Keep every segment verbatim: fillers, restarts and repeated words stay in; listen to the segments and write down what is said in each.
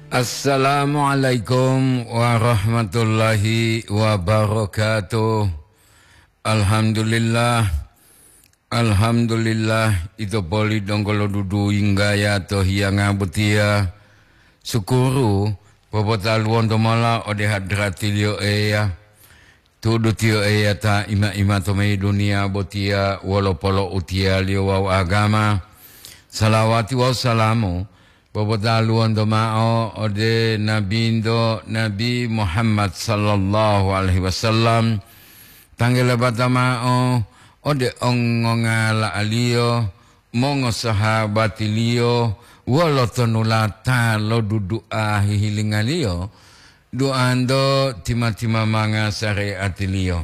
Assalamualaikum warahmatullahi wabarakatuh. Alhamdulillah. Alhamdulillah, ito poli donggo lo dudu yinggaya to hiyanga botiya. Sukuru, popotaluwonto mola ode hadratiliyo Eya. Tudu tiyo Eya ta ima-ima to mayi duniya botiya wolo polo'utiyaliyo wawu agama. Salawati wawu salamu popotaluwonto ma'o ode Nabinto Nabi Muhammad sallallahu alaihi wasallam, tanggele bata ma'o ode ongongala'aliyo, mongosahabatiliyo, wolo tonulata lo dudu'a hihilingaliyo, duanto tima-timamanga sare'atiliyo.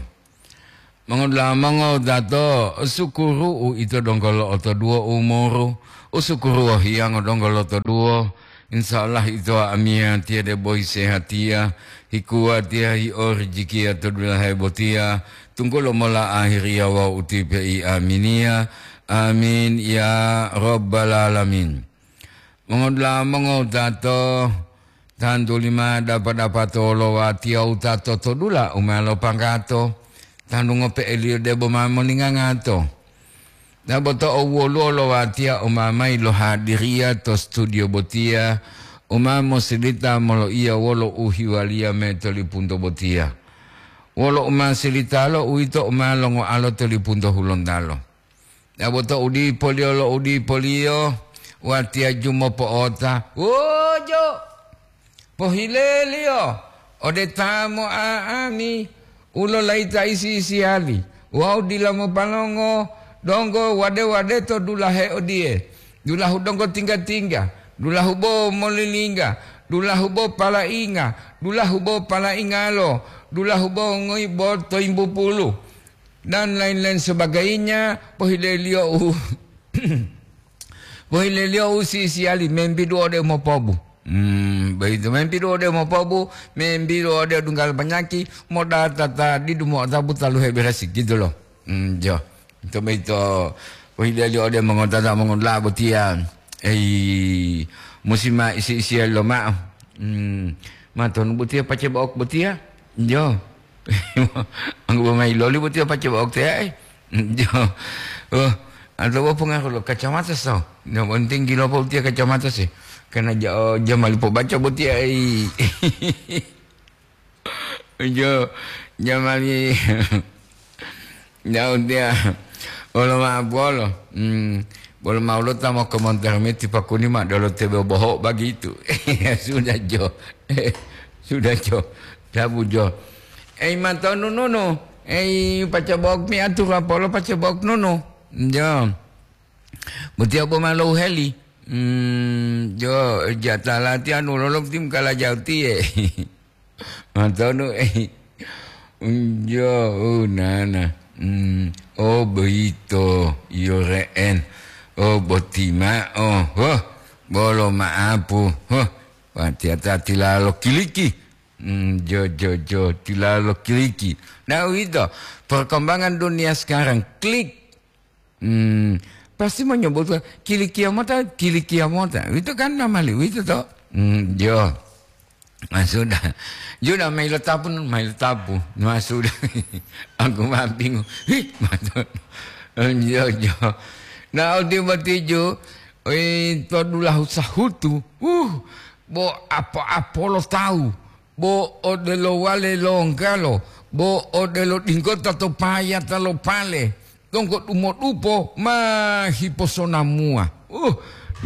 Mongodula'a mongowutato, sukuru uito donggo lo'otoduwo umuru, usukuru wohiyango donggo lotoduwo. Insya Allah ito amiyatiya debo hisehatiya, hikuwatiya, hiorijikiya to dulahe botiya, tunggulo mola ahiriya wawu utipe'i aminiya. Amin ya rabbal alamin. Mongodula'a mongowutato, tantu lima dapa-dapato lo watiya wutato to dula u ma lopanggato, tantu ngope'eliyo debo ma moningangato. Dabo to owoluwo lo watiya u ma mayi lohadiriya to studio botiya, u ma mosilita moloiya wolo uhiwaliya mayi to lipunto botiya. Wolo u ma silitalo uwito u ma longoalo to lipunto Hulontalo. Dabo to udipoliyo lo udipoliyo, watiya jumopo'ota, wojo, pohileliyo ode ta mo'a'ami u lolayita isi-isiyali wawu dila mopalongo donggo wade-wade to dulahe odiye, dulahu donggo tingga-tingga, dulahu bo molilingga, dulahu bo palainga, dulahu bo palaingalo, dulahu bo ngoibo to yimbupulu, dan lain-lain sebagainya, pohileliyo u, pohileliyo u sisiyali membidu ode mopobu. Hmm, begitu, membidu ode mopobu, membidu ode dunggal panyaki, modatata didu mo'otabu taluhe beresi, gitu loh. Hmm, jo. Itu begitu, pohileliyo ode mongotata mongola botiya. Ei, musi ma isi-isiya loma'o. Hmm, ma tonu botiya pace bo'ok botiya? Jo. Anggubo mayi loli botiya pace bo'ok teyae. Jo. Oh, atau bo pengaruh lo kacamata so. Yang penting gilo po botiya kacamata sih. Karena ja-, jamali pobaca botiya, ei. Jo, jamali. Jauh dia. Bolo ma bolo. Hmm. Bolo ma ulo ta mo komentar meti pakuni ma dolo tebe boho bagitu. Ya sudah, jo. Sudah, jo. Dabu, jo. Ei, matonu nunu. Ei, pace bo'ok mi atur apolo pace bo'ok nunu. Jo. Botiya bo ma louheli. Hmm, jo, jatala ti anu lolok tim kala jauh tiye. Matonu, eh. Unjo, oh, nana. Hmm. Oh, boyito, iyo re'en. Oh, boti ma'o. Huh. Bolo ma'apu. Huh. Watiya ta tilalo kiliki. Hmm, jo, jo, jo, tilalo kiliki. Nah, uwito, perkembangan dunia sekarang, klik. Hmm, pasti menyebutkan, "Kilikiya mota, kilikiya mota." Itu kan namali, itu toh. Hmm, jo. Nah, sudah. Sudah, mailo tapu, mailo tapu. Nah, sudah. Aku mah bingung. Hih, mato. Jo, jo. Nah, odi botiju, eh, to dulahu sahutu. Uh, bo apo-apo lo tawu. Bo odelo wale longgalo, bo odelo dinggota to payata lo pale, donggo dumodupo ma hiposonamuwa. Uh,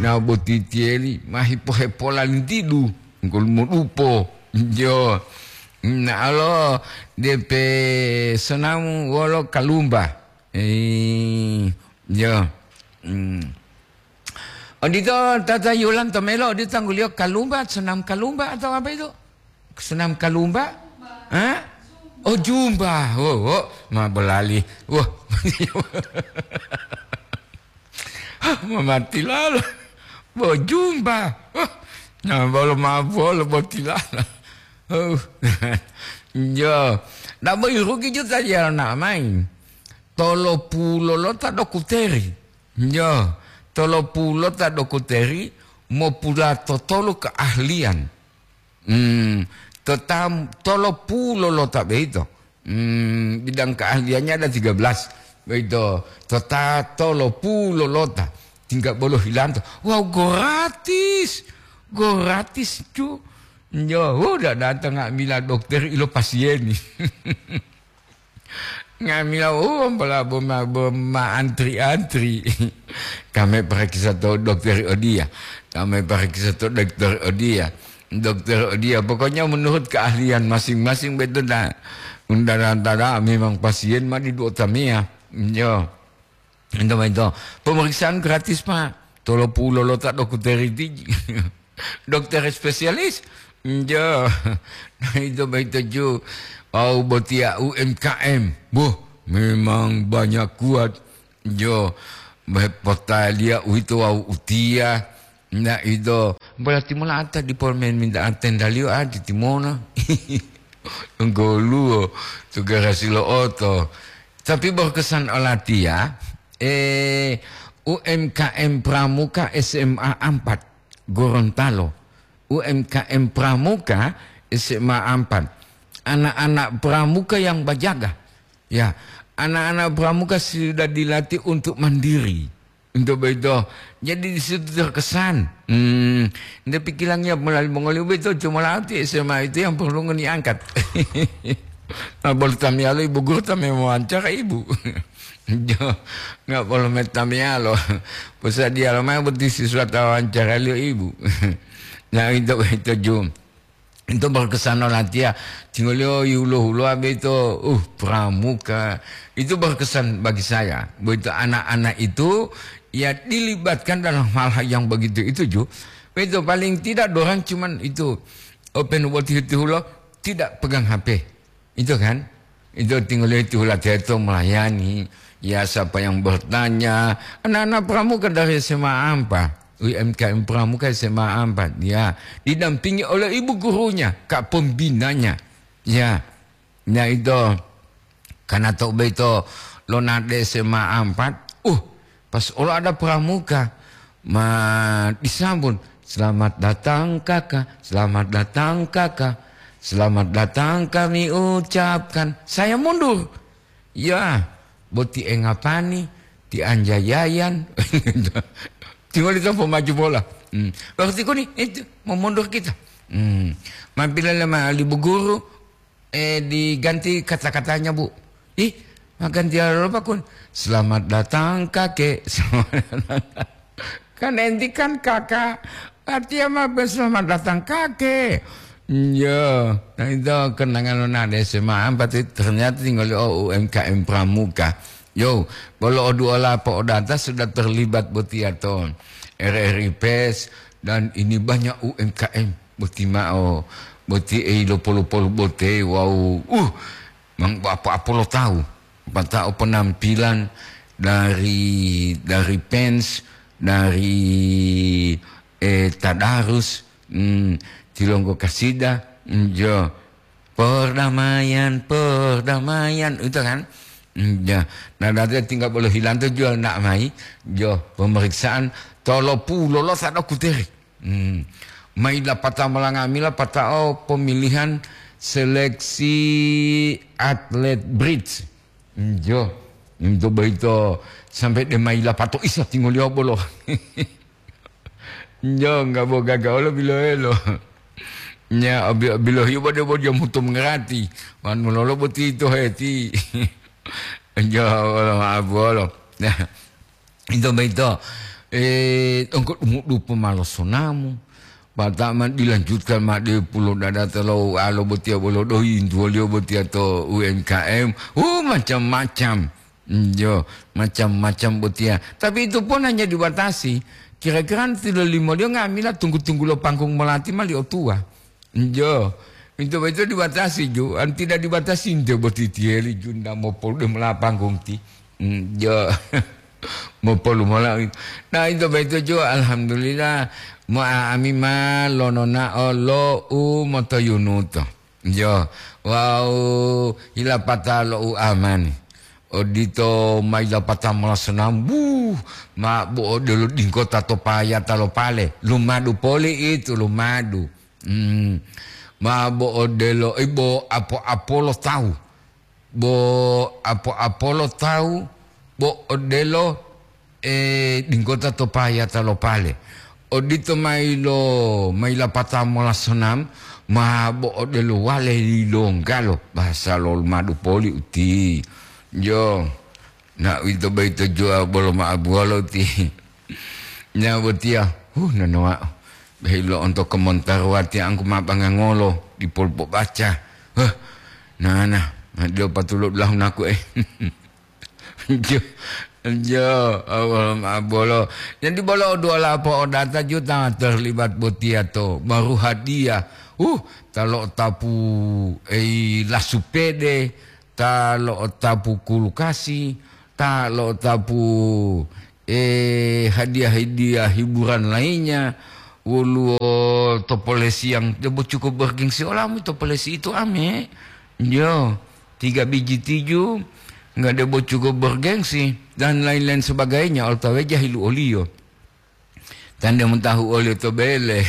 na botitiyeli ma hipohepolantidu, donggo dumodupo. Jo, na'alo depe sonamu wolo kalumba. Eh, jo. Hmm. Odito tata Yulan to melo, odito tangguliyo kalumba, senam kalumba atau apa itu? Senam kalumba? Hah? Oh, jumba. Oh, oh, ma bolali. Wah. Hah, ma mati lala. Bo jumba. Wah. Nah, bolo ma bolo botilala. Oh. Jo. Nah, bo irugi juta jala na main. Tolo pulo lo ta dokuteri. Yo, tolo pulo ta dokuteri mopulatotolu keahlian. Hmm, to tam-, tolo pulo lota beito. Hmm, bidang keahliannya ada tiga belas. Beito, to ta-, tolo pulo lota. Tingga bolo hilanto. Wow, gratis. Gratis, cu. Yo, udah datang nga'amila dokter ilo pasieni. Nga'amila, oh, ampala boma, boma antri-antri. Kame parakisa to dokter odia. Kame parakisa to dokter odia. Dokter odia. Pokoknya menurut keahlian masing-masing betul dah. Undang-undang memang pasien ma di dua tamia. Yo. Ento, ento. Pemeriksaan gratis, Pak. Tolo pulo lota dokter iti. Dokter spesialis. Njo. Nah, itu baik tuju. Au botia U M K M. Boh, memang banyak kuat. Jo, potalia uito wau utia. Nah, itu. Berarti mula ata di polmen minta tendalio adi timona. Goluo, tugarasi lo oto. Tapi berkesan olatia, eh, U M K M Pramuka S M A empat, Gorontalo. U M K M Pramuka S M A empat. Anak-anak Pramuka yang berjaga. Ya, anak-anak Pramuka sudah dilatih untuk mandiri. Untuk begitu, jadi di situ terkesan. Hmm, nde pikirannya melalui mongoli begitu, cuma latih S M A itu yang perlu ngeni angkat. Nah, baru tamialo ibu guru tami wawancara ibu. Jo, nggak boleh metamialo. Pesan dia lo, "Mau beti siswa ta wawancara liyo ibu." Nah, itu, itu Ju. Itu berkesan olatia. Tingoliyo yulo-huloa beto, uh, Pramuka. Itu berkesan bagi saya. Begitu anak-anak itu, ya, dilibatkan dalam hal-hal yang begitu itu, Ju. Begitu paling tidak dorang cuman itu, open buat tihu-tihulo, tidak pegang H P. Itu kan? Itu tinggal itu hula teto melayani. Ya, siapa yang bertanya? Anak-anak Pramuka dari S M A empat. U M K M Pramuka S M A empat. Ya, didampingi oleh ibu gurunya, kak pembinanya. Ya, ya itu. Karena tok beto lonade S M A empat. Uh, pas olo ada Pramuka, ma disambut, "Selamat datang, Kakak. Selamat datang, Kakak. Selamat datang kami ucapkan." Saya mundur. Ya, boti engapani, ti anjayayan. Tinggal itu pemaju bola. Hmm. Waktu itu nih, itu, mau mundur kita. Hmm. Mampir lama ibu guru, eh, diganti kata-katanya, Bu. Ih, makan dia lupa kun. "Selamat datang, Kakek." Kan enti kan kakak. Artinya mah, "Selamat datang, Kakek." Iya. Nah, itu kenangan nonade S M A empat itu ternyata tinggal, oh, U M K M Pramuka. Yo, bolo oduola po odata sudah terlibat botiato R R I Pers dan ini banyak U M K M. Boti ma'o, boti ei lo polu-polu bote, wau, uh, mang apa-apa lo tahu. Pata'o penampilan dari, dari Pens, dari, eh, Tadarus, hmm, Tilonggo Kasida, hmm, jo. Perdamaian, perdamaian, itu kan. Hmm, ya. Nah, nanti tinggal boleh hilang tuh jual nak mai, jo, pemeriksaan tolo pulo lo sado kuteri. Hmm. Mai lapata malangami lapatao pemilihan seleksi atlet bridge. Njo, njo boyito sampai de mai lapato isa tingoliyo bolo. Njo, nggak bo gaga olo biloelo. Nya, obi-, bilohiyo bo de bo dia mutu mengerati. Wan mulolo boti to heti. Njo, olo maaf bolo. Nah, Ito boyito, eh, engko dumudu pomalosonamu, pata'o ma dilanjutkan ma de pulo dadata lo alo botiya bolo doyi intuwoliyo botiya to U M K M. Uh, macam-macam. Yo, macam-macam botiya. Tapi itu pun hanya dibatasi. Kira-kira nanti lo limoliyo nga'amila tunggu-tunggu lo panggung molati ma li otuwa. Njo, ito boyito dibatasi ju, an tidak dibatasi nte boti tiyeli ju nda mopolu de mola panggung ti. Njo, mopolu mola. Nah, ito boyito ju, alhamdulillah, mo ami ma lononao lo u motoyunuto. Njo, wau hilapata lo u amani. Odito ma ilapata mola sonambu, ma bo odelo dingkota to payata lo pale. Lumadu poli itu, lumadu. Hmm. Ma bo odelo, i bo apo-apolo tawu. Bo apo-apolo tawu, bo odelo, e, dinggota to payata lo pale. Odito mayi lo, mayi lapata mola sonam, ma bo odelo wale yilonggalo, bahasa lo madu poli uti. Yo, na uwito boyito juwa bolo ma'abuwalo uti. Nya botiya, huh, nonowa'o. Behi lo'onto komontaruwati angku ma bangangolo, dipolu pobaca. Huh, nana, ma dilo patulo dulahu naku, eh. Jo, jo, awal ma bolo. Jadi bolo dua lapo odata juta terlibat botiya to. Baru hadiah. Uh, ta lo'otapu, ei, lasupede, ta lo'otapu kulkasi, ta lo'otapu, eh, hadiah-hadiah hiburan lainnya, woluwo topolesi yang debo cukup bergengsi olamu topolesi itu ame. Yo, tiga biji tiju, nggak debo cukup bergengsi, dan lain-lain sebagainya, otawa jahilu oliyo. Tande mutahu oliyo to bele.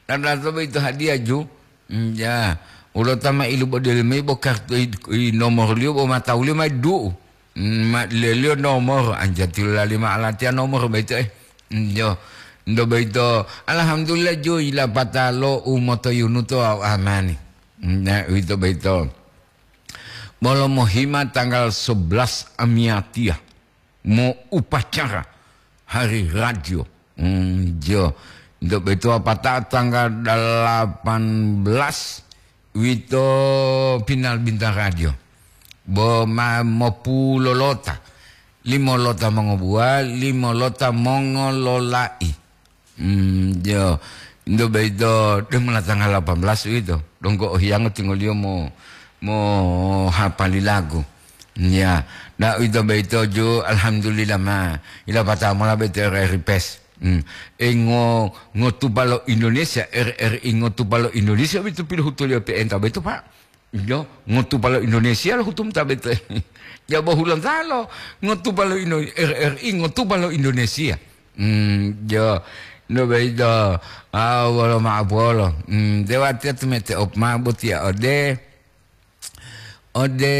Tanda to itu hadiah ju. Mm, ya, ulo tama ilu bodeli mai bo kartu i, i nomor liyo bo matau liyo mai du'u. Mm, ma leliyo nomor, anjati lali ma alatiya nomor boyito, eh. Mm, yo, ndo boyito, alhamdulillah, ju, ilapata lo u motoyunu to au amani. Mm, na, uwito boyito. Bolo mohima tanggal sebelas amiyatiya, mo upacara hari radio. Mm, jo. Ndo boyito apata tanggal delapan belas, uwito final bintang radio. Bo ma mopulolota. Limo lota mongobuwa, limo lota mongolola'i. Hmm, jo. Ndo boyito, de mola tanggal delapan belas uwito. Donggo ohiyango tingoliyo mo, mo hapali lagu. Ya, da uwito boyito ju, alhamdulillah ma. Ilapata mola boyito R R I Pes. Hmm. E ngo, ngotupa lo Indonesia, R R I ngotupa lo Indonesia boyito pilohutuliyo P N K boyito, Pak. Yo, ngotupa lo Indonesia lo hutum ta boyito. Jabo hulontalo, ngotupa lo Indo-, R R I ngotupa lo Indonesia. Hmm, yo, no boyito, ah, wolo ma'apolo. Hmm, dewatiya tumete op ma botiya ode, ode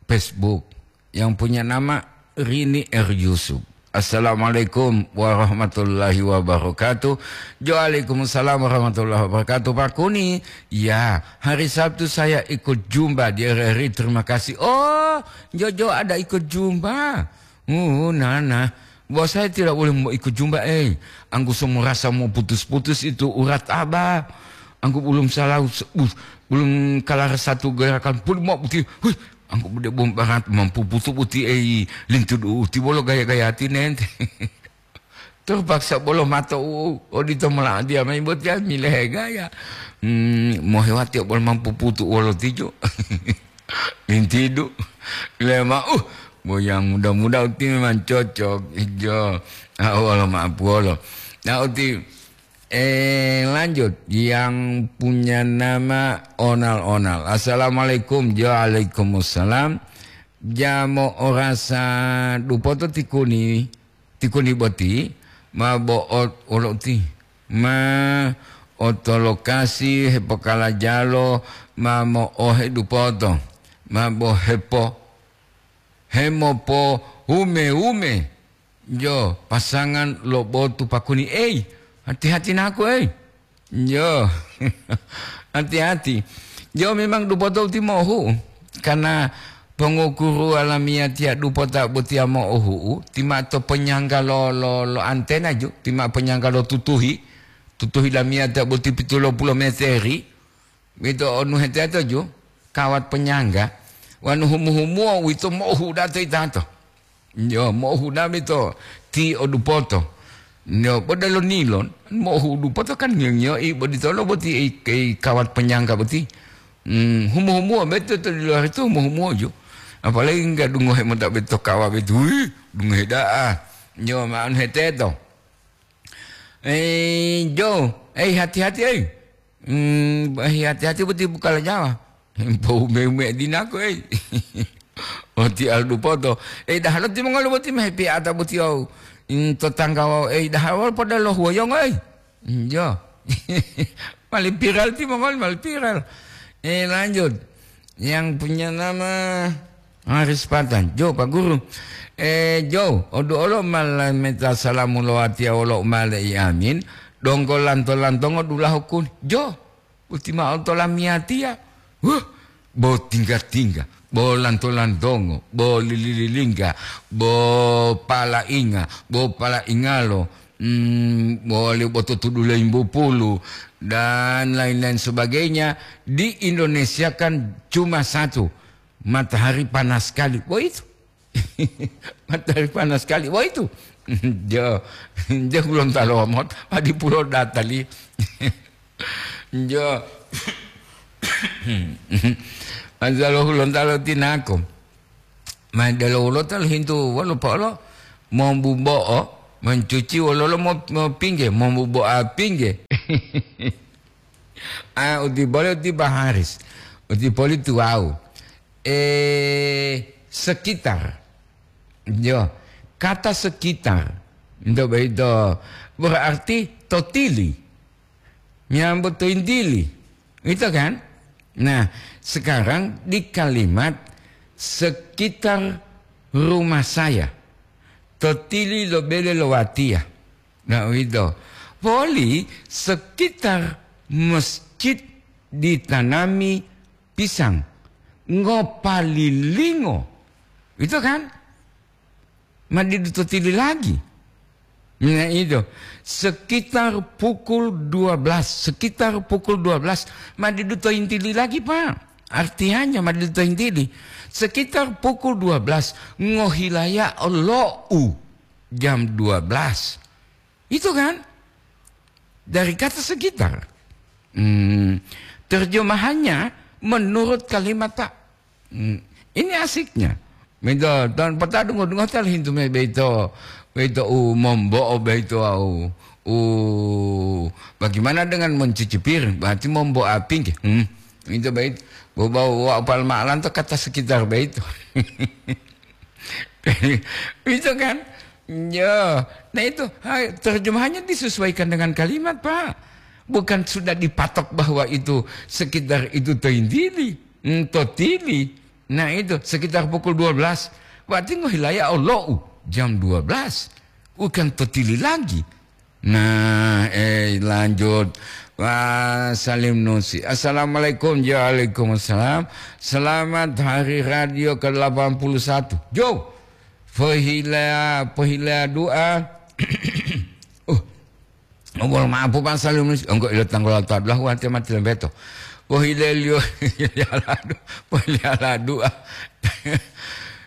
Facebook. Yang punya nama Rini R Yusuf. Assalamualaikum warahmatullahi wabarakatuh. Waalaikumsalam warahmatullahi wabarakatuh, Pak Kuni. Ya, hari Sabtu saya ikut jumpa di R R I. Terima kasih. Oh, Jojo ada ikut jumpa. Uh, nana. Bahwa saya tidak boleh mau ikut jumpa, eh. Angku semua rasa mau putus-putus itu urat abah. Angku belum salah, belum kelar satu gerakan pun mau putih. Hui, angku bude bom barat mampu putu puti ei lintu du uti bolo gaya-gaya ati nente. Terpaksa bolo mato u odito mola dia mai botia milehe gaya. Hmm, mohewati bolo mampu putu wolo tijo. Lintidu. Lema, uh, boyang muda-muda uti memang cocok. Ijo. Ah, wolo maapu wolo. Nah, uti Eh, lanjut, yang punya nama Onal-Onal. Assalamualaikum. Waalaikumsalam. Jamo orasa dupoto tikuni, tikuni boti, ma bo'ot wolo uti. Ma oto lokasi hepokalajalo, ma mo'ohe dupoto, ma bo hepo, hemopo hume-hume. Jo, pasangan lo botu pakuni, ei, hati-hati naku, ei. Jo, hati-hati. Jo, memang dupoto uti mohu, karena pengukuru alamiah tiya dupota botiya mo'ohu'u, tima to penyangga lo, lo, lo antena ju, tima penyangga lo tutuhi, tutuhi lamiah tiya boti pitulo pulo meteri, Wito onu heteto ju, kawat penyangga, wanu humu-humuo wito mo'ohuda to itato. Yo, mo'ohuda wito ti odupoto. Yo, bodelo nilon, mo'ohudu poto kan ngiyo-ngiyo i boditolo boti i, i kawat penyangga boti. Hmm, humu-humuo beto to di luar itu humu-humuo ju. Apalagi enggak dungohe mota beto kawa beto. Wih, dungohe da'a. Yo, ma'an heteto. Eh, Jo, eh, hati-hati, eh. Hmm, eh, hati-hati boti bukala nyawa. Poume-ume dinako, eh. Oti aldu poto. Eh, dahalo timongoli boti mehepi ata boti au. Hmm, tetangga wau, eh, dahalo pada lo huwoyongo, eh. Hmm, Jo. Mali viral timongoli, mali viral. Eh, lanjut. Yang punya nama Haris Patan. Jo, Pak Guru. Eh, Jo, odu olo malameta salamu lo watiya wolo umale i amin. Donggo lanto-lantongo dulahu kuni. Jo, uti ma'o to lamiyatiya. Huh, bo tingga-tingga, bo lanto-lantongo, bo lili-lilingga, bo palainga, bo palaingalo, mm, bo liu bo tutudu limbu pulu, dan lain-lain sebagainya. Di Indonesia kan cuma satu, matahari panas sekali. Bo itu. Matahari panas sekali. Bo itu. Jo, jo Gorontalo mot, adi pulo datali. Jo. Masalah Gorontalo tinako. Ma delo wolo tal hintu wolo polo, mombubo'o, mencuci wololo mo, mo pingge, mombubo'a pingge. Ah, uti bole uti Baharis. Uti poli tuwau. Eh, sekitar. Yo, kata sekitar. Nto boyito berarti totili. Miyambo to intili. Itu kan? Nah, sekarang di kalimat sekitar rumah saya. Totili lo bele lo watiya. Nah, uwito. Poli sekitar masjid ditanami pisang. Ngopalilingo. Itu kan? Ma didu totili lagi. Nah, itu. Sekitar pukul dua belas, sekitar pukul dua belas, ma didu to intili lagi, Pak. Artinya, ma didu to intili. Sekitar pukul dua belas, ngohilaya olo'u jam dua belas. Itu kan? Dari kata sekitar. Hmm, terjemahannya menurut kalimat, Pak. Hmm, ini asiknya. Minto, dan peta dungo-dungo tel hintu me beito, beito u mombo'o beito au. U, bagaimana dengan mencuci piring? Berarti mombo'a pingge. Hmm, itu bait. Bobau wa palmalan to kata sekitar beito. Itu kan? Ya, nah itu, hai, terjemahannya disesuaikan dengan kalimat, Pak. Bukan sudah dipatok bahwa itu sekitar itu tointili, mm, totili. Nah itu, sekitar pukul dua belas. Berarti ngohilaya olo'u jam dua belas. Bukan totili lagi. Nah, eh, lanjut. Wah, salim nusi. Assalamualaikum. Waalaikumsalam. Selamat Hari Radio ke delapan puluh satu. Jo, pohila, pohila doa. Uh, mohon maaf, Pak, salim nusi. Engkau ilo tanggal dua belas, wati mati lembeto. Pohila liyo, pohila doa.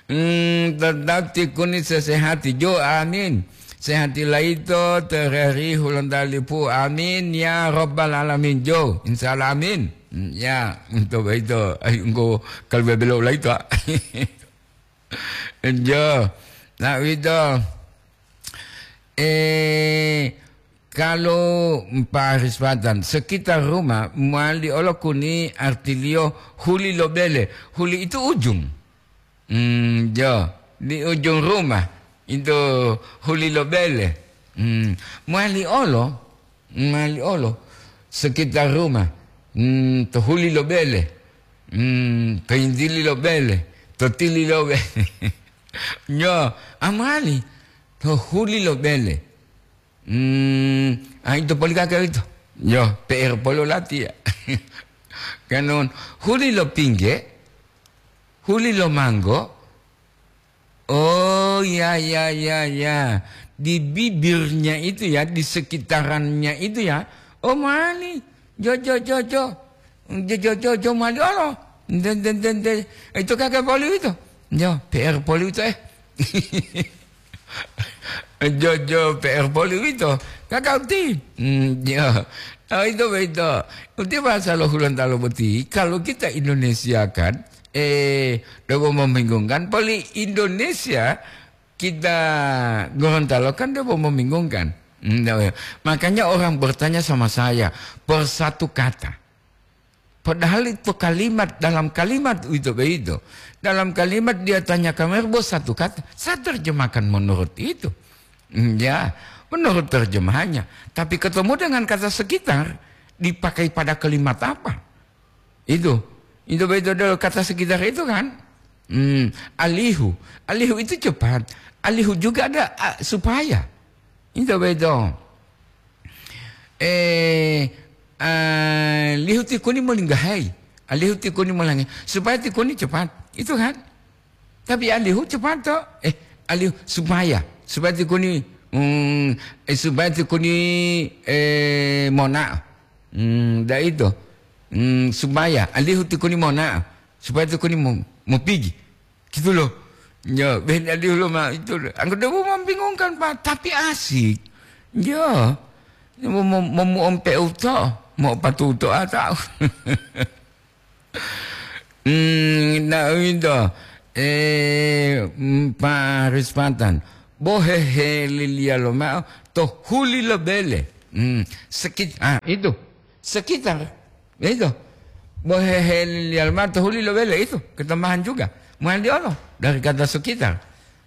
Hmm, tetap tikuni sesehati. Jo, amin. Sehati laito tereri hulontalipu. Amin ya rabbal alamin. Jo, insya Allah amin. Hmm, ya, untuk itu. Ay, engko kalau bebelo laito. Jo. Nah, wito. Eh, kalau Pak Rispatan, sekitar rumah, mali olo kuni artiliyo huli lo bele. Huli itu ujung. Hmm, jo, di ujung rumah, itu huli lo bele. Hmm, mali olo, mali olo, sekitar rumah, hmm, to huli lo bele, hmm, to intili lo bele, to tili lo bele. Jo, amali, to huli lo bele. Hmm, ah, ito poli kaka ito. Yo, P R poli lati ya. Kanun, huli lo pingge, huli lo manggo. Oh, ya, ya, ya, ya. Di bibirnya itu ya, di sekitarannya itu ya. Oh, mali. Jo, jo, jo, jo. Jo, jo, jo, jo, mali olo. Nde, nde, nde, nde. Ito kaka poli ito. Jo, P R poli ito, eh. Jojo P R poli uwito, kakauti. Hmm, ya. Ah, itu begitu. Uti bahasa lo Hulontalo boti. Kalau kita Indonesia kan, eh, debo membingungkan. Poli Indonesia kita Gorontalo kan debo membingungkan. Hmm, ya, ya. Makanya orang bertanya sama saya, per satu kata. Padahal itu kalimat, dalam kalimat uwito boyito, dalam kalimat dia tanyakan mayi bo satu kata, saya terjemahkan menurut itu. Hmm, ya, menurut terjemahannya. Tapi ketemu dengan kata sekitar, dipakai pada kalimat apa? Itu. Itu betul dulu kata sekitar itu kan? Hmm, alihu. Alihu itu cepat. Alihu juga ada, ah, supaya. Itu betul. Eh, ah, lihu tikuni molinggahai. Alihu tikuni molangi. Supaya tikuni cepat. Itu kan? Tapi alihu cepat to. Eh, alihu supaya. Supaya tikuni, hmm, eh, supaya tikuni, eh, mona. Hmm, da itu. Hmm, supaya alihu tikuni mona. Supaya tikuni mo-, mopigi. Gitu loh. Ya, ben alihu lo ma itu. Anggota bu membingungkan, Pak, tapi asik. Ya. Mau, mau, mau, mau ompe uto, mau patu uto atau. Hmm, nah, itu. Eh, mm, Pak Rispatan. Bohehe liliya lomao to huli lo bele. Hmm, sekit-, ah, itu. Sekitar. Itu. Bohehe liliya lomao to huli lo bele itu. Ketambahan juga. Mandi Allah. Dari kata sekitar.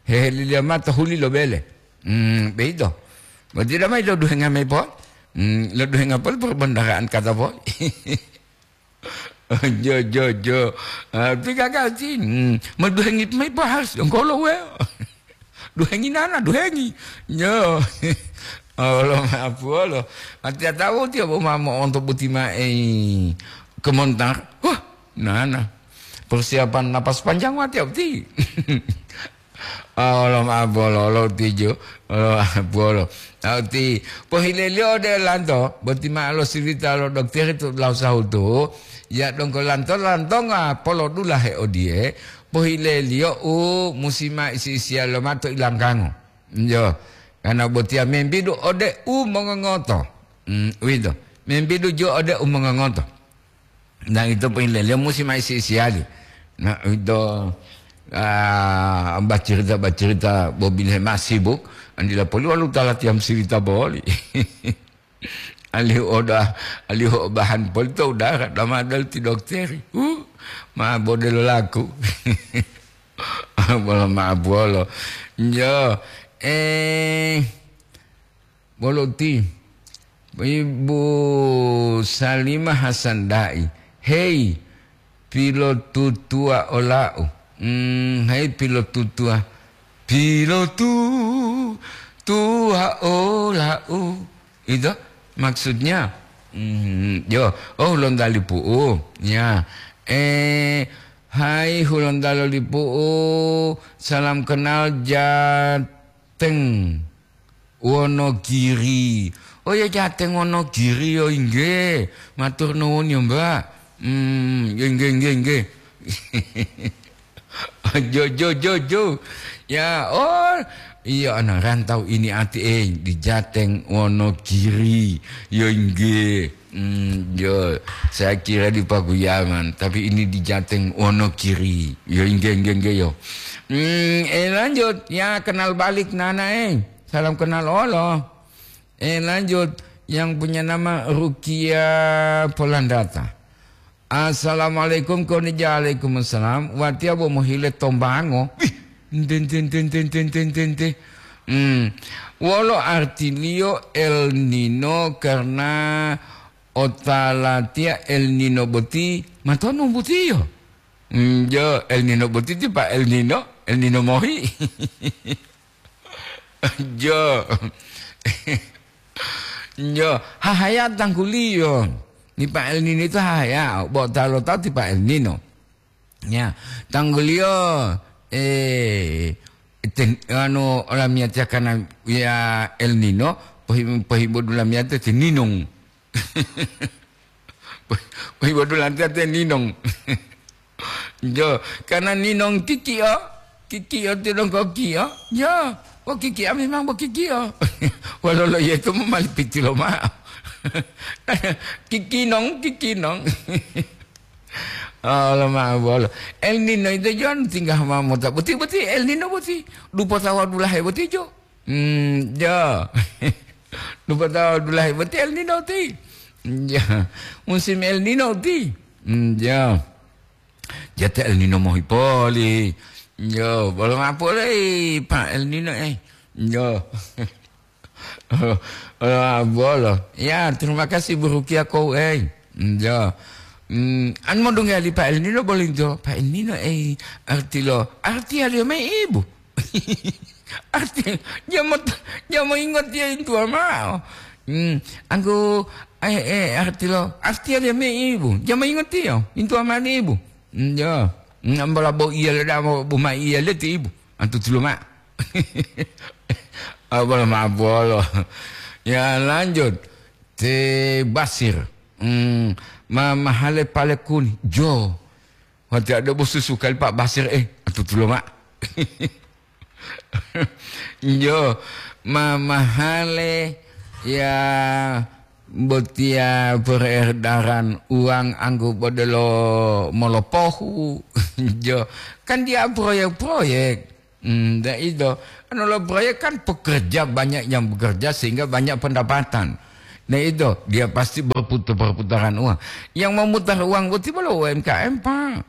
Hehe liliya mao to huli lo bele. Hmm, beito. Berarti damai lo duhenga mai po. Hmm, lo duhenga po perbendaharaan kata po. Jo, jo, jo. Ah, ti gagal ti. Hmm. Ma duhengi mayi pa harus dongkolo we. Duhengi nana, duhengi. Yo. Allah maapu Allah. Ati tahu tiap uma mo untuk buti mae kemontar. Wah, nana. Persiapan napas panjang wati abdi. Olo ma'o bolo, olo tijo, olo ma'o bolo. Tauti, pohileliyo ode lanto, boti ma'o lo sirita lo dokteri to dulahu sahutu, ya donggo lanto, lantonga polodulahe odiye, pohileliyo u musi ma isi-isiya lo mato ilanggango. Yo, karena botiya membidu ode u mongongoto. Mm, uwito. Membidu jo ode u mongongoto. Nah, ito pohileliyo musi ma isi-isiyali. Nah, ito, ah, bacarita-bacarita bobilohe ma sibuk, andila poli walu talatiya musirita boli. Alihu oda, alihu obahan poli to udara, dama dal ti dokteri. Uh, ma bodelo laku. Bolo ma bolo. Yo, eh, Bolo ti, Ibu Salimah Hasan Da'i, "Hei, pilotutuwa ola'u." Hmm, "Hei, pilotutuwa." Pilotutuwa ola'u. Itu maksudnya. Hmm, yo, oh, lonta lipu'u. Ya. Eh, hai, hulonta lo lipu'u. Salam kenal, Jateng. Wonogiri. Oh ya, Jateng Wonogiri, yo inggih. Matur nuwun ya, Mbak. Hmm, ya inggih, inggih, inggih. Jo, jo, jo, jo. Ya, oh, iya, ana rantau ini ati, eh, di Jateng Wonogiri. Yo inggih. Hmm, yo, saya kira di Pakuyaman, tapi ini di Jateng Wonogiri. Yo inggih, inggih, inggih, yo. Hmm, eh, lanjut. Ya, kenal balik, Nana, eh. Salam kenal olo. Eh, lanjut. Yang punya nama Rukia Polandata. "Assalamualaikum, konija." "Waalaikumsalam. Watiya bo mohile tombango." Wih, ente, ente, ente, ente, ente, ente, ente. Hmm. Wolo artiliyo El Nino karena otalatiya El Nino boti matonu botiyo? Hmm, jo, El Nino boti ti pa El Nino, El Nino mohi. Jo. Jo, hahaya tangguliyo. Ni pa El Nino itu hahaya, bo talo tahu ti pa El Nino. Ya, tangguliyo, eh, ten-, anu, olamiyatiya kana ya El Nino, pohi-, pohibodu lamiyatiya ti ninong. Pohibodu lamiyatiya ti ninong. Jo, karena ninong kikiyo, kikiyo ti donggo kiyo, jo, bo kikiya memang bo kikiyo. Walolo yeto mo mali pitilo ma'o. Kikinong, kikinong. Olo ma'o bolo. El Nino ito jo anu tingga ma mota boti, boti El Nino boti. Dupo tawa dulahe boti jo. Hmm, jo. Dupo tawa dulahe boti El Nino ti. Jo. Musim El Nino ti. Hmm, jo. Jate El Nino mohi poli. Jo, bolo ma'o poli, Pak El Nino, eh. Jo. Oh, oh, bolo. Ya, terima kasih Bu Rukia kou, eh. Njo. Hmm, an modunga li Pak El Nino bolo njo. Pak El Nino, eh, arti lo. Arti alio me ibu. Arti, dia mau, dia mau ingat dia itu mao. Hmm, anggo, eh, eh, arti lo. Arti alio me ibu. Dia mau ingat dia. Itu mao ibu. Njo. Ngambola bo iya le damo, bo ma iya le ti ibu. Antu tulo ma. Abala ma bolo. Ya, lanjut. Te Basir. Hmm, ma mahale pale kuni. Jo. Wati ada bo susu kali Pak Basir, eh. Antu tulo ma. Jo. Ma mahale ya botia peredaran uang anggo bodelo molopohu. Jo. Kan dia proyek-proyek. Hmm, dah itu. Anu lo proyek kan pekerja banyak yang bekerja sehingga banyak pendapatan. Nah itu, dia pasti berputar-perputaran uang. Yang memutar uang boti bolo U M K M, Pak.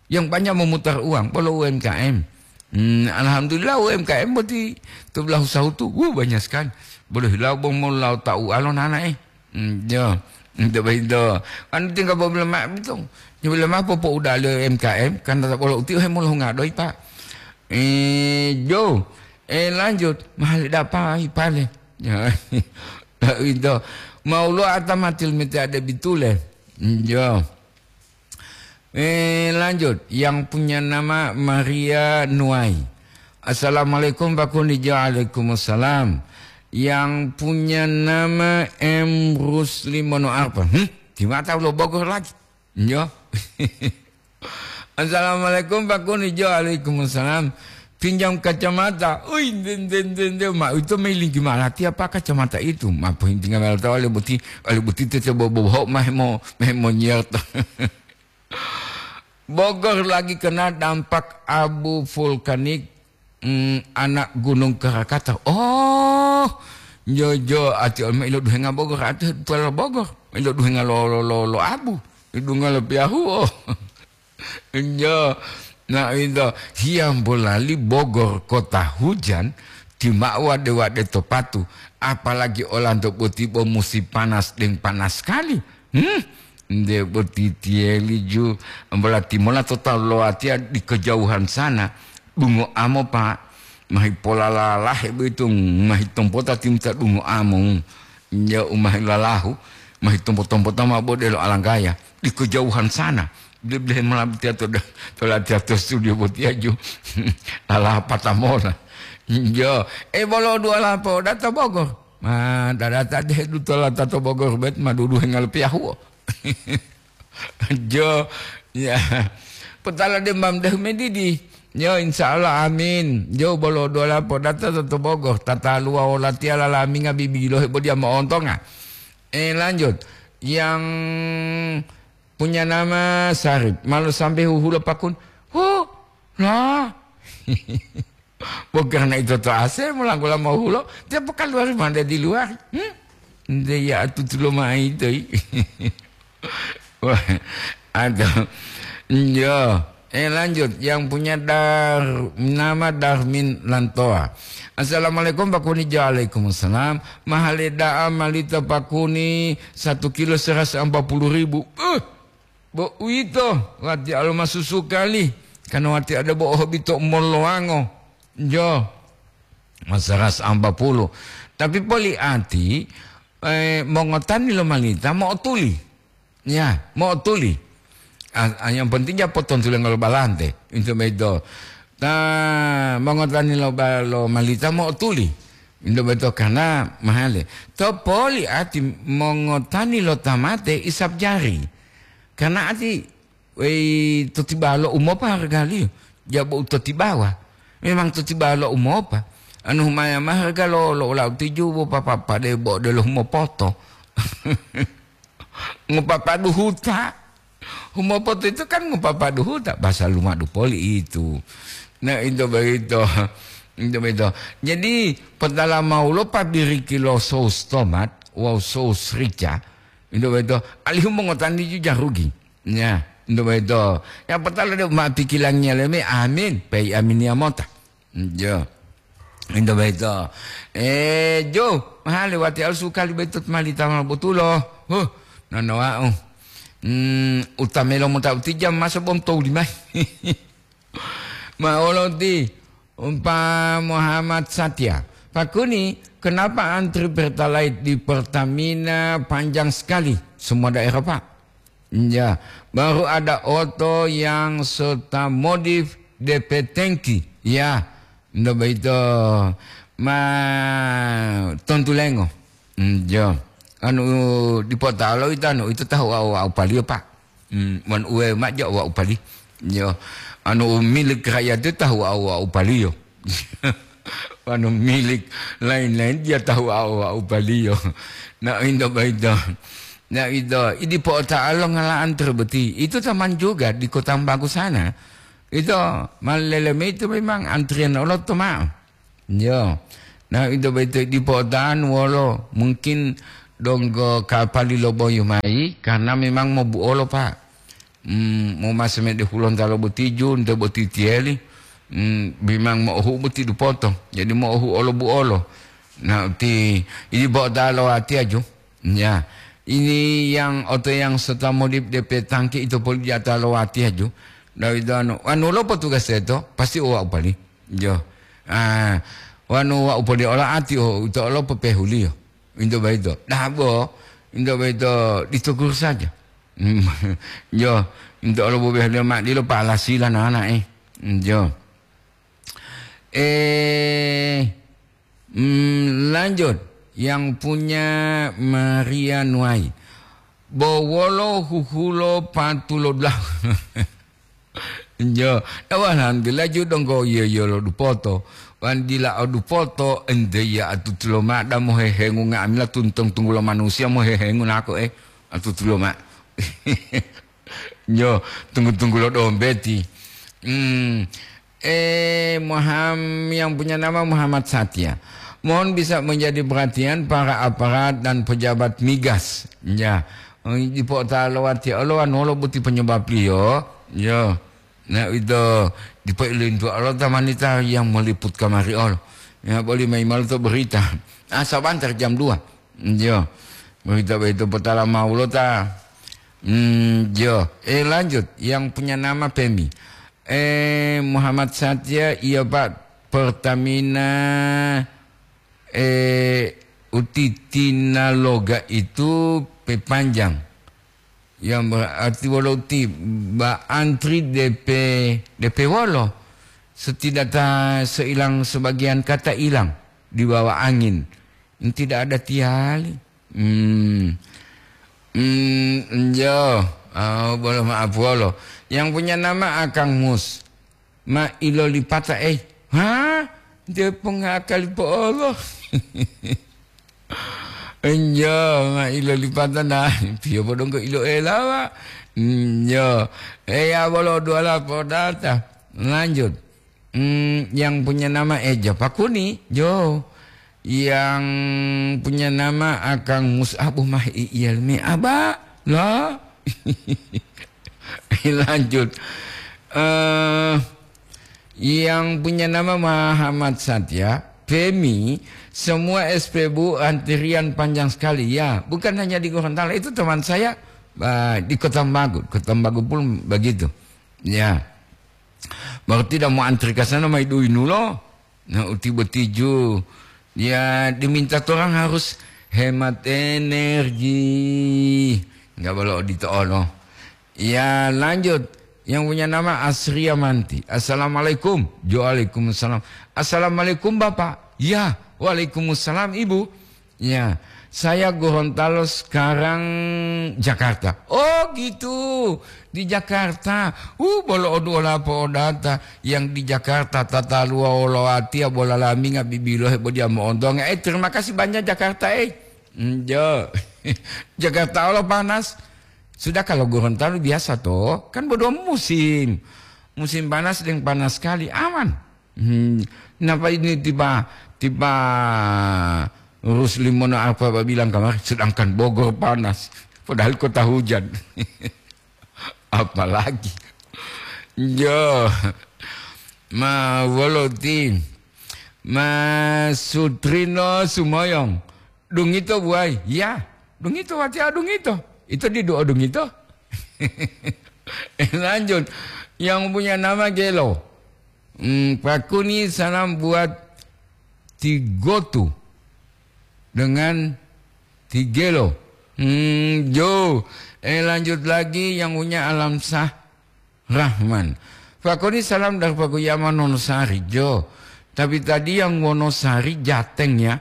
Yang banyak memutar uang bolo U M K M. Hmm, alhamdulillah U M K M boti to belahu sahutu, wuh, banyak sekali. Bolo hilau bo mau lau tau alo nana, eh. Hmm, jo. Nto boyito. Kan tinggal bo belema bito. Jo belema popo udah le M K M, kan tetap bolo uti he molo hunga doi, Pak. Eh, jo. Eh, lanjut. Mahal dapai pale. Ya. Itu. Mau lo ata matil mete ada bitule. Hmm, jo. Eh, lanjut. Yang punya nama Maria Nuai. Assalamualaikum, Pak Kuni. Waalaikumsalam. Yang punya nama M Rusli Mono Arpa. Hmm? Di mata ulo Bogor lagi. Yo. Assalamualaikum, Pak Kuni. Waalaikumsalam. Pinjam kacamata. Ui, nde, nde, nde, nde. Ma, itu mailing gimana? Tiapa kacamata itu? Ma, pohintinga melo tahu oleh buti, oleh buti tete bobo, bobo, mah mo, mah mo nyer to. Bogor lagi kena dampak abu vulkanik, mm, anak Gunung Krakatau. Oh, jojo ati ol ma ilo duhenga Bogor, ati tuala Bogor. Ilo duhenga lo, lo, lo, lo abu. Ilo duhenga lo piyahu, oh. Jo, nah, itu, hiyambo lali Bogor kota hujan, ti ma wade-wade to patu, apalagi olanto boti bo musim panas deng panas sekali. Hmm? Nde boti tiyeli ju, berarti mola total lo atiya di kejauhan sana. Dungo amo, Pak, mahi pola lalahe boyito, mahi tompota timta dungo amo. Ya, umahi lalahu, mahi tompo-tompota ma bode lo alanggaya. Di kejauhan sana. Bile-bile mola tiya to da-, to latiya to studio botiya ju. Lalaha pata mola. Jo, eh, bolo dua lapo data Bogor. Ma, dadata de dutola tato Bogor bet ma duduhe ngalo piyahuo. Jo, ya. Potala de mam deh medidi. Yo, insya Allah, amin. Jo, bolo dola podata to, to Bogor. Tata luwa wolatiya lalaminga bibilohe bodiya mo'ontonga. Eh, lanjut. Yang punya nama Sarip. Malu sampai huhulo pakun. Hu, lah. Bukan karena itu to ase, mulangkula mau hulo, dia pekan luar mana di luar. Hmm? Dia ya tutulo mai itu. Wah, aduh. Yo, eh, lanjut. Yang punya dar-, nama Darmin Lantoa. Assalamualaikum, Pak Kuni. Waalaikumsalam. Mahale da'a malita Pak Kuni, satu kilo seratus empat puluh ribu. Eh, bo uwito, wati alo masusu kali. Karena wati ada bo ohobito molowango. Jo, masaras ampa puluh. Tapi poli ati, eh, mongotani lo malita mo'otuli. Ya, mo'otuli. Ah, ah, yang penting ja potontulengo lo balante. Itu beto. Ta, mongotani lo ba-, lo malita mo'otuli. Itu beto karena mahale. To poli ati mongotani lo tamate isap jari. Karena ati, wei, to tibawa lo umopa hargaliyo. Jabo u to tibawa. Memang to tibawa lo umopa. Anu humaya ma harga lo, lo, lo tijubo papa pade bo de lo humopoto. Ngopapadu huta. Humopoto itu kan ngopapadu huta, bahasa lumadu poli itu. Nah, itu begitu. Itu begitu. Jadi, petala mau lo pabiriki lo saus tomat, wawu saus rica, itu begitu. Alihu mongotani ju jarugi. Ya, itu begitu. Yang petala de ma pikilangiya leme, amin. Pei amin ya mota. Iya. Ento boyito. Eh, jo, mahale wati alu sukali boyito mali tama botulo. Huh, nonowa'u. Hmm, utamelo mota uti jam masa bom tau limai. Ma olo ti, umpa Muhammad Satya. Pakuni, kenapa antri Pertalite di Pertamina panjang sekali? Semua daerah, Pak. Ya, baru ada oto yang serta modif D P tangki. Ya, ndo boyito ma tontulengo. Mm, jo. Anu, dipo talo ito, anu, ito tahu au, au paliyo, Pak. Mm, wan uwe ma jo au, au pali. Jo. Anu, milik rakyat itu tahu au, au paliyo. Anu, milik lain-lain dia tahu au, au paliyo. Nah, ito boyito. Nah, ito, idi po talo ngalaan terbeti. Itu taman juga di Kota Bagu sana. Itu maleleme itu memang antrian oloto ma'o. Yo. Nah, ito boyito dipo otahan wolo mungkin donggo kapali lo boyu mayi, karena memang mobuolo, Pak. Hmm, momase mede hulonta lo botiju, nte boti tiyeli. Hmm, memang mo'ohu boti dupoto. Jadi mo'ohu olo buolo. Nah, ti, idi bo ta lo watiya ju. Ya. Ini yang oto yang serta modif D P tangki itu poli di ata lo watiya ju. Nah, itu anu, anu lo petugas itu, pasti uwa upali. Jo. Ah, wanu wau poli ola ati o uto olo pepehuliyo. Into boyito. Dabo, into boyito ditukur saja. Jo, into olo bobehuliyo ma dilo palasila nana, eh. Jo. Eh, mm, lanjut. Yang punya Maria Nuai. Bowolo huhulo patulo dulahu. Jo, tawu alhamdulillah ju donggo yiyo-yiyo lo dupoto. Wan dila o dupoto, ente ya atutulo ma da mohehengu nga'amila tuntong tunggulo manusiya mohehengu nako, eh, atutulo ma. Jo, tunggu-tunggulo dombeti. Hmm. Eh, Muham-, yang punya nama Muhammad Satya. Mohon bisa menjadi perhatian para aparat dan pejabat migas. Ya. Dipo ta lowati olo, anu olo boti penyebab liyo. Yo. Nah, itu dipo ilintu olo tamanita yang meliput kamari olo. Ya, boleh main malu to berita. Ah, sabantar jam dua. Yo. Berita itu petala mau lo ta. Hmm, yo. Eh, lanjut. Yang punya nama Pemi. Eh, Muhammad Satya, iya, Pak. Pertamina, eh, Utitinaloga itu pepanjang. Yang berarti wolo uti ba antri D P, D P wolo. Setidaknya seilang sebagian kata hilang di bawah angin. Tidak ada tiali. Hmm. Hmm, jo. Oh, bolo maaf wolo. Yang punya nama Akang Mus. Ma ilolipata, eh. Ha? Dia pengakali po Allah. Enjo, ma ilolipata na. Pio bodonggo ilo elawa. Enjo. Eh, ya bolo duala podata. Lanjut. Hmm, yang punya nama Eja Pakuni, jo. Yang punya nama Akang Mus'ab mah iyal me aba. Lah. Lanjut. Eh, yang punya nama Muhammad Satya, Femi, semua S P Bu antrian panjang sekali. Ya, bukan hanya di Gorontalo, itu teman saya, eh, di Kota Bagu. Kota Bagu pun begitu. Ya. Baru tidak mau antri ke sana, mai dui nulo. Nah, uti botiju. Ya, diminta orang harus hemat energi. Enggak boleh odito ono. Ya, lanjut. Yang punya nama Asria Manti. Assalamualaikum. Waalaikumsalam. Assalamualaikum, Bapak. Ya, waalaikumsalam, Ibu. Ya, saya Gorontalo sekarang Jakarta. Oh, gitu. Di Jakarta. Uh, bolo odu olapo odata. Yang di Jakarta tataluwa wolo atiya bola laminga bibilo hebo dia moontonga. Eh, terima kasih banyak Jakarta, eh. Enjo. Jakarta Allah panas. Sudah kalau Gorontalo biasa toh, kan bodo musim. Musim panas dan panas sekali, aman. Hmm, kenapa ini tiba, tiba Rusli Mono apa bilang kemarin, sedangkan Bogor panas, padahal kota hujan. Apalagi. Yo, ma wolo ti. Ma Sutrino Sumoyong, dungito buai. Ya, dungito watiya dungito. Ito didu o dungito. Lanjut, yang punya nama Gelo. Hmm, pakuni salam buat Tigotu dengan Tigelo. Hmm, jo. Eh, lanjut lagi yang punya Alamsah Rahman. Pakuni salam dari Pakuyaman Wonosari, jo. Tapi tadi yang Wonosari Jateng ya.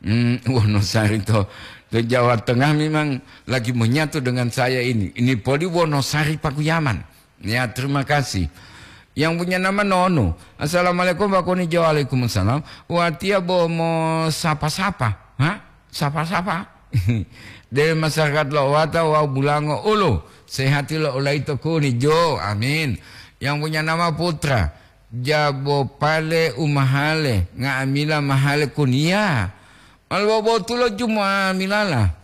Hmm, Wonosari to, to Jawa Tengah memang lagi menyatu dengan saya ini. Ini poli Wonosari Pakuyaman. Ya, terima kasih. Yang punya nama Nono. Assalamualaikum, Pak Kuni. Waalaikumsalam. Watiya bo mo sapa-sapa. Ha? Sapa-sapa? Dari masyarakat Lo'owata wawu Bulango Ulu. Sehati lo ulaito Kuni. Jo, amin. Yang punya nama Putra. Jabo pale umahale, nga'amila mahale Kuni. Ya. Mal bobotulo jumo amilala.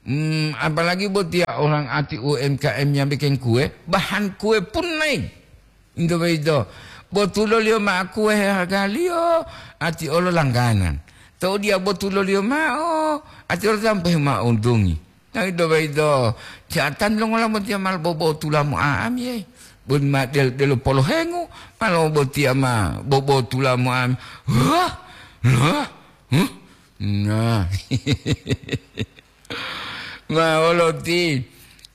Hmm, apalagi botiya orang ati U M K M yang bikin kue, bahan kue pun naik. Into boyito, botuloliyo ma'o kue hargaliyo, ati olo langganan. Tou diya botuloliyo ma'o, ati olo sampai ma'o untungi. Nah, into boyito, jatan longola botiya mal bobotula mo'a'ami, eh. Bon ma del-, delo polohengu, mal botiya ma bobotula mo'a'ami. Wah, wah, huh? Nah. Ma wolo ti,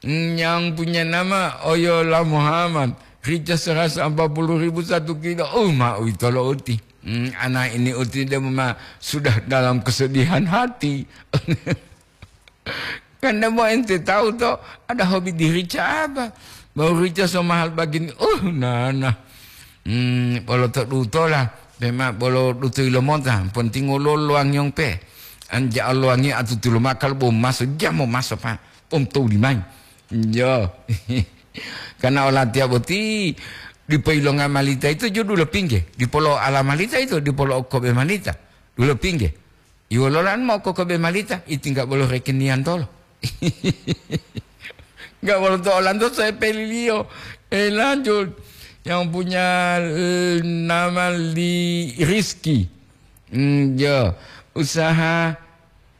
yang punya nama Oyola Muhammad, rica seratus empat puluh ribu satu kilo. Oh, ma uwito lo uti. Hmm, anak ini uti dia ma sudah dalam kesedihan hati. Kan dia mau ente tahu to, ada hobi di rica apa? Mau rica so mahal begini. Oh, nana. Hmm, bolo to dutola, pema bolo duto ilomota, penting wolo luang yong pe. Anja luangi atutu lo makal bo maso, jamo maso pa, pom to limai. Yo. Karena olatiya boti, dipo ilonga malita itu jo dulo pingge, dipolo ala malita itu, dipolo okobe malita, dulo pingge. Iwololan mo okobe malita, itingga bolo rekenian tolo. Nggak bolo to olanto saya peliliyo. Eh, lanjut. Yang punya, eh, nama Li Rizky. Hmm, ya. Usaha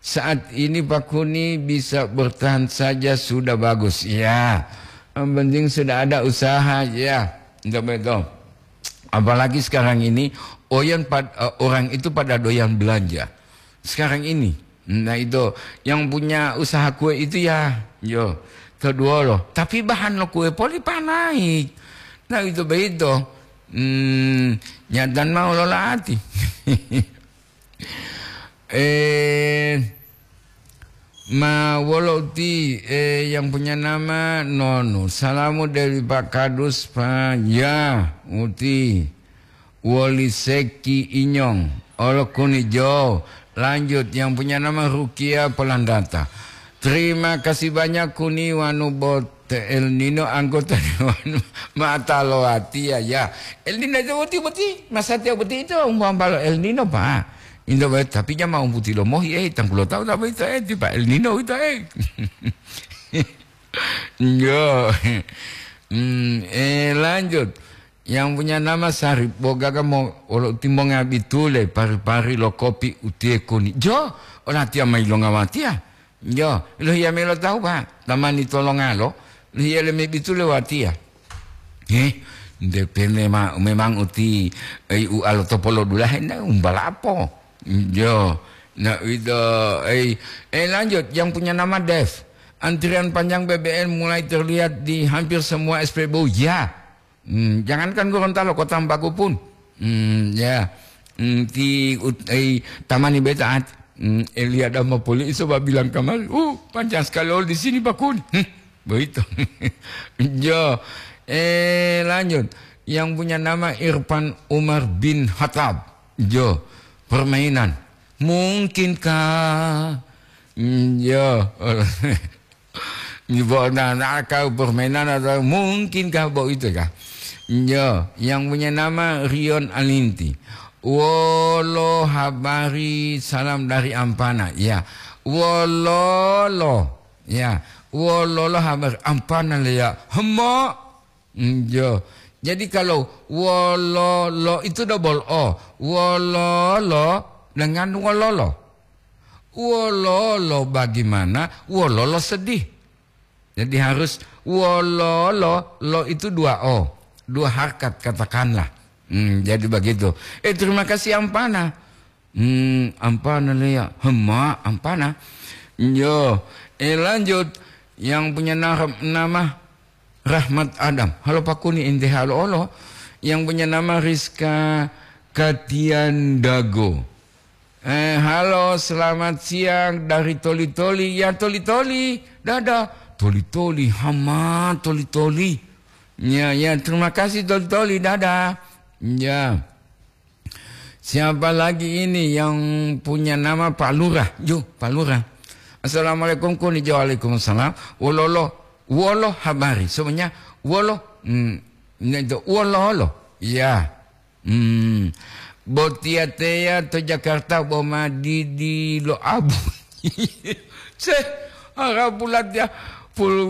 saat ini Pak Kuni bisa bertahan saja sudah bagus. Ya. Yang penting sudah ada usaha, ya. Nggak betul. Apalagi sekarang ini, oyan pad-, eh, orang itu pada doyan belanja. Sekarang ini. Nah, itu yang punya usaha kue itu ya, yo, kedua loh. Tapi bahan lo kue poli pa naik. Nah, itu begitu. Hmm, nyatan mau lo lati. Eh, ma wolo uti, eh, yang punya nama Nonu. Salamu dari Pak Kadus, Pak. Ya, uti. Woli Seki Inyong. Olo Kuni Jo. Lanjut, yang punya nama Rukia Polandata. Terima kasih banyak Kuni wanu bot El Nino anggota dewan mata loatia ya. El Nino itu boti boti, masa tiap boti itu umpama El Nino, Pak. Indo bae, tapi jama umputi lomohi, eh, tanggulo tahu tapi itu, eh, tiba El Nino itu, eh. Yo. Hmm, eh, lanjut. Yang punya nama Sarip, bogaga mo, olo timbonga bitule, pari-pari lo kopi utie Kuni. Jo, olatiya mai longa watiya. Jo, lohiya melo tahu, Pak. Tamani tolongalo, lohiya leme bitule watiya. Eh, depende ma-, memang uti, eh, ualo topolo dulahe na umbalapo. Jo, na ito, eh, eh, lanjut, yang punya nama Dev. Antrian panjang B B M mulai terlihat di hampir semua S P B U. Ya, Hmm, jangankan Gorontalo, Kota Mpaku pun. Hmm, ya. Hmm, ti ut-, eh, tamani beta at-, hmm, Elia Damapoli iso ba bilang kamari, "Uh, panjang sekali oli di sini, Pak Kun." Hmm, begitu. Jo. Eh, lanjut. Yang punya nama Irfan Umar bin Khattab. Jo. Permainan. Mungkinkah? Hmm, jo. Nyubo na, na kau permainan atau mungkinkah bo itu kah? Yo, yang punya nama Rion Alinti. Wolo habari, salam dari Ampana. Ya, wololo. Ya, wololo habari Ampana le ya. Hemo. Yo, Jadi kalau wololo itu double O. Wololo dengan wololo. Wololo bagaimana? Wololo sedih. Jadi harus wololo, lo itu dua O. Dua harkat katakanlah. Hmm, jadi begitu. Eh, terima kasih Ampana. Hmm, Ampana Lea. Hema, Ampana. Yo, eh, lanjut. Yang punya na-, nama Rahmat Adam. Halo Pakuni, ente halo olo. Yang punya nama Rizka Katiandago. Eh, halo, selamat siang dari Toli-Toli. Ya, Toli-Toli. Dadah. Toli-Toli, hama Toli-Toli. Ya, ya, terima kasih Toli-Toli. Dadah. Ya. Siapa lagi ini yang punya nama Pak Lurah? Yo, Pak Lurah. Assalamualaikum, kuni. Waalaikumsalam. Wololo, wolo habari. Semuanya wolo, hmm, itu wololo. Ya. Hmm. Botiya teya to Jakarta bo ma didi lo abu. Se, ara bulat ya. Pul